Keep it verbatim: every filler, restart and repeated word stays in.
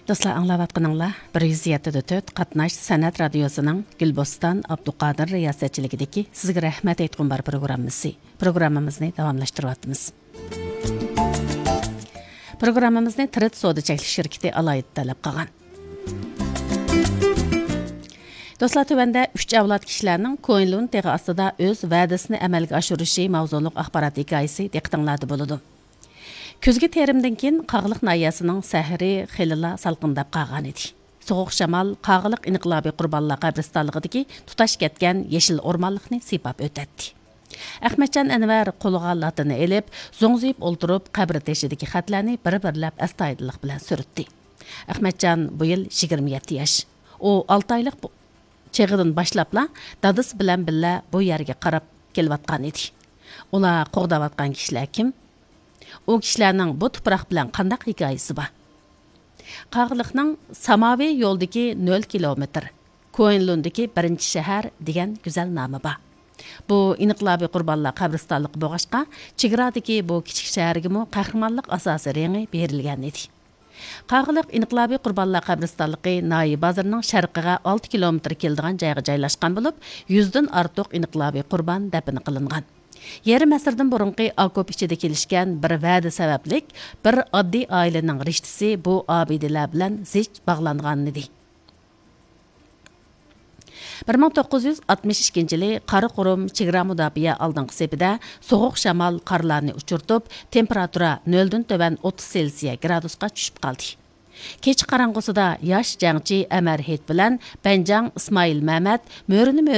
دوستلار، ئاڭلاۋاتقىنىڭلار بىر يۈز يەتتە دە تۆت قاتناش سەنئەت رادىيوسىنىڭ گۈلبوستان ئابدۇقادىر رىياسەتچىلىكىدىكى سىزگە رەھمەت ئېيتقۇم بار پروگراممىسى. پروگراممىمىزنى داۋاملاشتۇرۇۋاتىمىز. پروگراممىمىزنى تىرىت سودا چەكلىك شىركىتى ئالاھىدە تەلەپ قىلغان. دوستلار، تۆۋەندە ئۈچ ئەۋلاد كىشىلەرنىڭ كوينلۇن تېغى ئاستىدا ئۆز ۋەدىسىنى ئەمەلگە ئاشۇرۇشى ماۋزۇلۇق ئاخبارات ھېكايىسى دىققىتىڭلاردا بولىدۇ. كۈزگى تېرىمدىن كېيىن قاغىلىق ناھىيەسىنىڭ سەھىرى خېلىلا سالقىنداپ قالغانىدى. سوغۇق شامال قاغىلىق ئىنقىلابىي قۇربانلار قەبرىستانلىقىدىكى تۇتاش كەتكەن يېشىل ئورمانلىقنى سىيپاپ ئۆتەتتى. ئەخمەتجان ئەنۋەر قولىغا لاتىنى ئېلىپ، زوڭزىيىپ ئولتۇرۇپ، قەبرە تېشىدىكى خەتلەرنى بىر-بىرلەپ ئەستايىدىللىق بىلەن سۈرتتى. ئەخمەتجان بۇ يىل يىگىرمە يەتتە ياش. ئۇ ئالتە ئايلىق بو-، چېغىدىن باشلاپلا دادىسى بىلەن بىللە بۇ يەرگە قاراپ كېلىۋاتقان ئىدى. ئۇلار قوغداۋاتقان كىشىلەر كىم؟ ئۇ كىشىلەرنىڭ بۇ تۇپراق بىلەن قانداق ھېكايىسى بار؟ قاغىلىقنىڭ ساماۋى يولدىكى نۆل كىلومېتىر، كوينلۇندىكى بىرىنچى شەھەر دېگەن گۈزەل نامى بار. بۇ ئىنقىلابىي قۇربانلار قەبرىستانلىقى بولغاچقا، چېگرادىكى بۇ كىچىك شەھەرگىمۇ قەھرىمانلىق ئاساسىي رېڭى بېرىلگەن ئىدى. قاغىلىق ئىنقىلابىي قۇربانلار قەبرىستانلىقى ناھىيە بازىرىنىڭ شەرقىگە ئالتە كىلومېتىر كېلىدىغان جايغا جايلاشقان بولۇپ، يۈزدىن ئارتۇق ئىنقىلابىي قۇربان دەپنە قىلىنغان. يېرىم ئەسىردىن بۇرۇنقى ئاكوپ ئىچىدە كېلىشكەن بىر ۋەدە سەۋەبلىك، بىر ئاددىي ئائىلىنىڭ رىشتىسى بۇ ئابىدىلەر بىلەن زىچ باغلانغانىدى. بىر مىڭ توققۇز يۈز ئاتمىش ئىككىنچى يىلى قاراقۇرۇم چېگرا مۇداپىئە ئالدىنقى سېپىدە سوغۇق شامال قارلارنى ئۇچۇرتۇپ، تېمپېراتۇرا نۆلدىن تۆۋەن ئوتتۇز سېلسىيە گرادۇسقا چۈشۈپ قالدى. كېچە قاراڭغۇسىدا ياش جەڭچى ئەمەر ھېيت بىلەن بەنجاڭ ئىسمائىل مەمەت مۆرىنى مۆرىگە